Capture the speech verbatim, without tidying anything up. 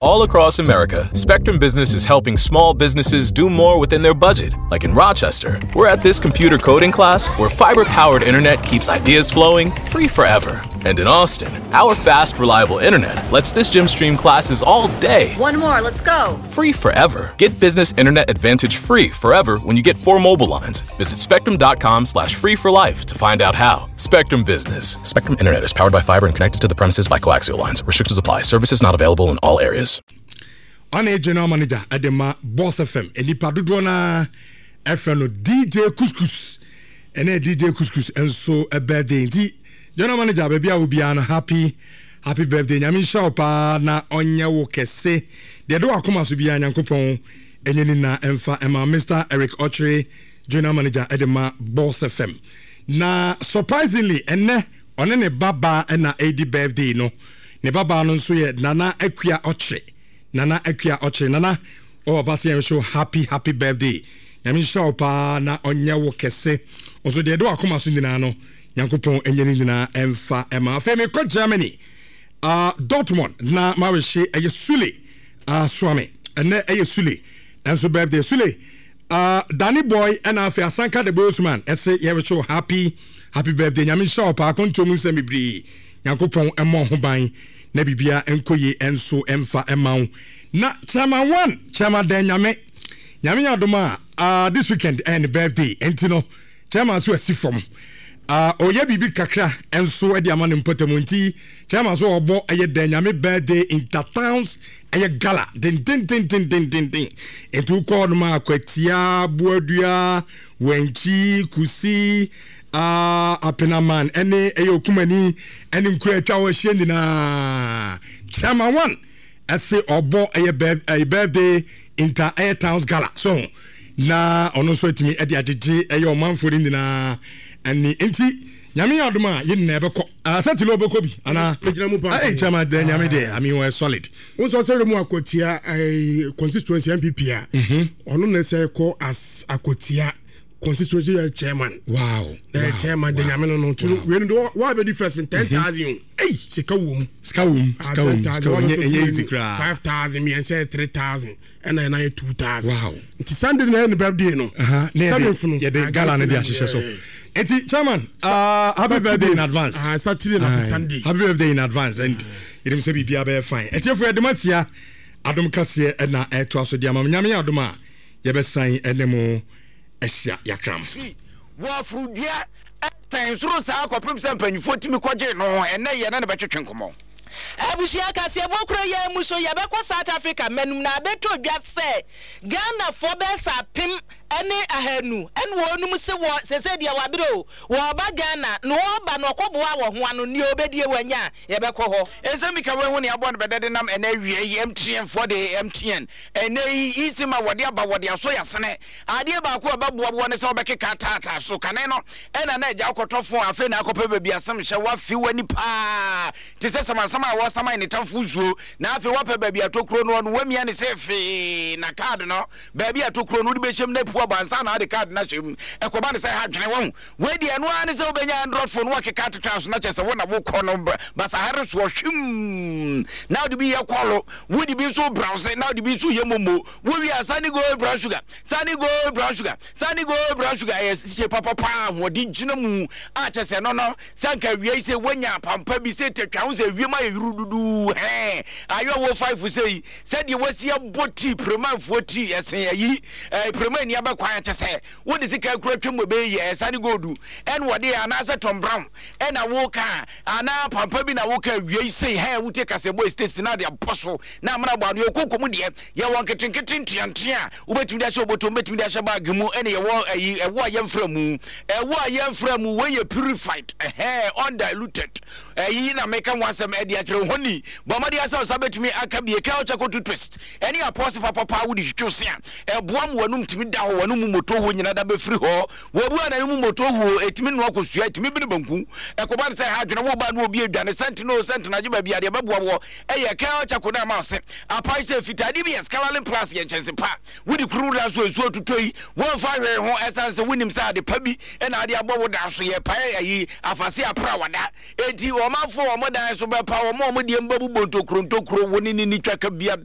All across America, Spectrum Business is helping small businesses do more within their budget. Like in Rochester, we're at this computer coding class where fiber powered internet keeps ideas flowing free forever. And in Austin, our fast, reliable internet lets this gym stream classes all day. One more, let's go. Free forever. Get business internet advantage free forever when you get four mobile lines. Visit spectrum.com slash free for life to find out how. Spectrum Business. Spectrum Internet is powered by fiber and connected to the premises by coaxial lines. Restrictions apply. Services not available in all areas. Ɔne general manager ɛde ma Boss F M, nipa dodoɔ naa ɛfrɛ no D J Couscous. Ɛnɛ D J Couscous nso birthday, nti general manager, baabi a obiara no, happy happy birthday. Nyame nhyira wo paa na ɔnyɛ wo kɛse. Deɛ de wakoma so biara, Nyankopɔn ɛnyɛ ni na ɛmfa ɛma Mister Eric Ɔkyere, general manager ɛde ma Boss F M. Na surprisingly, ɛnɛ ɔne ne babaa ɛna ɛdi birthday no. Ne babaa no nso yɛ Nana Akua Ɔkyere. Nana Akua Ɔkyere, Nana ɔwɔ papa sɛ yɛn so happy happy birthday. Nyame nhyira wo paa na ɔnyɛ wo kɛse. Ɔso deɛ ɛde wakoma so nyinaa no, Nyankopɔn ɛnyɛ ne nyinaa ɛmfa ɛma. Afei mekɔ Germany, uh, Dortmund, na mawehye ɛyɛ Sule uh, Suame. Ɛnɛ ɛyɛ Sule ɛnso birthday. Sule, uh, Danny Boy, ɛna afei Asanka the Bossman ɛsɛ yɛrehye happy happy birthday. Nyame nhyira wo paa. Akɔntuo mu nsɛm bebree, Nyankopɔn ɛmmɔ ho ban na biribia nkɔ yie ɛnso ɛmfa ɛma wo. Na Chairman One, Chairman Dan Nyame, Nyame yɛ adom a, uh, this weekend ɛyɛ ne birthday, ɛnti no chairman so asi fam uh, ɔyɛ biribi kakra ɛnso ɛde ama ne mpɔtamu. Nti chairman so ɔbɔ ɛyɛ Dan Nyame birthday intertowns, ɛyɛ gala dendendendendenden. Nti wokɔ nom a, Akwatia, Buadua, Wankyi, Kusi, uh, Apenaman, ɛne ɛyɛ Okumani, ɛne nkura atwa hɔ ahyia nyinaa, Chairman One ɛse ɔbɔ ɛyɛ ɛyɛ birthday inter ɛyɛ towns gala so na ɔno nso atumi ɛde agyegye ɛyɛ ɔmanfoɔ no nyinaa ɛne. Nti Nyame yɛ adom a, yɛn nyinaa ɛbɛkɔ sɛ tilo ɔbɛkɔ bi anaa? Megyina mu paa. Ɛyɛ Chairman dɛ Nyame deɛ, I mean, wɔyɛ solid. Wo nso sɛ mu Akwatia ɛɛ constituency N P P a, ɔno na sɛ kɔ as Akwatia constituency yɛ chairman. wow Ɛyɛ chairman de Nyame no no nti wei no de wa bɛ di first ten thousand o. Ei. Sika wɔ mu. Sika wɔ mu, sika wɔ mu, sika wɔ mu. ɛnyɛ ɛnyɛ easy koraa. Five thousand, mmiɛnsa yɛ three thousand, ɛna ɛna yɛ two thousand. Wow nti Sunday na yɛ ne birthday no. Aha, ne yɛde Seventh no. Yɛde Ah, gala no de gala ahyehyɛ so. yeah, yeah. Nti chairman, uh, happy birthday in advance. Ah, Saturday na Aye. Sunday. Happy birthday in advance, and yɛnim sɛ biribia bɛyɛ fine. Ɛtiɛfo, yɛde matia Adom kaseɛ ɛna ɛtoa so de ama mo. Nyame yɛ adom a, yɛbɛsan ɛne mo ahyia yakram. Wɔ afurudua ɛsɛn soro saa kɔpem sɛ mpanyinfoɔ tumi kɔgye no. Ɛnɛ yɛ ne ne bɛtwetwe nkɔmmɔ. Abusua, kaseɛbɔ kuro yɛn mu so, yɛbɛkɔ South Africa mmanum na abɛtɔ dwa sɛ Ghanafoɔ bɛyɛ sɛ apem ne ahanu ɛne wɔnum se wɔ sese deɛ wabere o, wɔɔba Ghana na wɔɔba na ɔkɔboa wɔ ho ano nea obɛdie wanya a, yɛbɛkɔ hɔ. Ɛnsɛm bi ka wɔahu ne aboa no bɛdɛ de nam. Ɛnɛ awia yi M T N foɔ de M T N ɛnɛ yi eSIM a wɔde aba, wɔde asɔ yɛasene adeɛ baako a ɛbɛboa boɔ ne sɛ wobɛkeka taataa so kane no ɛna na agya wokɔtɔ phone. Afei na akɔpɛ baabi asɛm hyɛ woafe w'ani paa te sɛ samansam a wɔsaman ne tamfo nsuo, na afei woapɛ baabi atɔ kuro no, ɔno wamia ne sɛ fee na card no baabi atɔ kuro no wode bɛhyɛm no apu aba ansa na wode card no ahyɛ mu. Ɛkɔba ne sɛ ha dwene wahu wei deɛ, ɛno ara ne sɛ wobɛnya Android phone wakeka atetwa so na kyerɛ sɛ wo na wokɔ no basahare soɔ hwim, na wode bi yɛ call, wode bi nso browse, na wode bi nso yɛ MoMo. Wowie a, Sani Gold brown sugar, Sani Gold brown sugar, Sani Gold brown sugar ɛyɛ hyɛ papapa, ahoɔden gyina mu a kyerɛ sɛ no no sɛ nka awia yi sɛ woanya pampa bi sɛ tatwa ho sɛ wiem ayɛ yuru duduu hɛn ayɛ wɔ five sɛ yi sɛdeɛ wasi abɔ tii premanfoɔ tii ɛsen ayi ɛɛ premani abɛkwan kyɛ sɛ wode sika kura twam wɔ bɛyɛ yɛ Sani Gold ɛna wɔde yɛ anaasɛ Tom Brown ɛna woka anaa pampa bi na woka awia yi sɛ hɛn wotie kasɛbɔ estate na de abɔ so na amena bɔ ano. Yɛkɔ mu deɛ, yɛwɔ nketenkete nteantea a wobɛtumi de ahyɛ obotom, wobɛtumi de ahyɛ bag mu, ɛne yɛwɔ ayi ɛwɔ a yɛmfra mu, ɛwɔ a yɛmfra mu. Wei yɛ purified, ɛhɛn, undiluted. Ɛyi na meka ho asɛm ɛde akyerɛ hɔ ni. Bɔ mmɔden asɛ ɔsa bɛtumi aka bie ka charcoal toothpaste ɛne apɔse papapa wode twitwi se a ɛboa mu w'anum tumi da hɔ. Wɔn mu moto ho nyina da bɛfiri hɔ. Wɔbu a na mu moto ho ɛtumi noa kosua, ɛtumi bene banku. Ɛkɔba no sɛ ha adwene wo ba no obi adwane sɛnte no sɛnte no agye baabi adeɛ bɛboa wɔ ɛyɛ Kel Charcoal no ama ɔse apae sɛ fitaa. D B S Colourlin Plus yɛ nkyɛnse pa wode kuru da so nsuo tutɔ yi wɔmfa hwee ho, ɛsiane sɛ wonim sɛ ade pa bi ɛna ade abɔ wo dan so yɛ pae ayi afase apra wada. Enti ɔmanfoɔ wɔn dan so bɛpa wɔn a wɔn deɛ mbɛbobɔ ntokuro ntokuro wo ne ne ni twaka bia.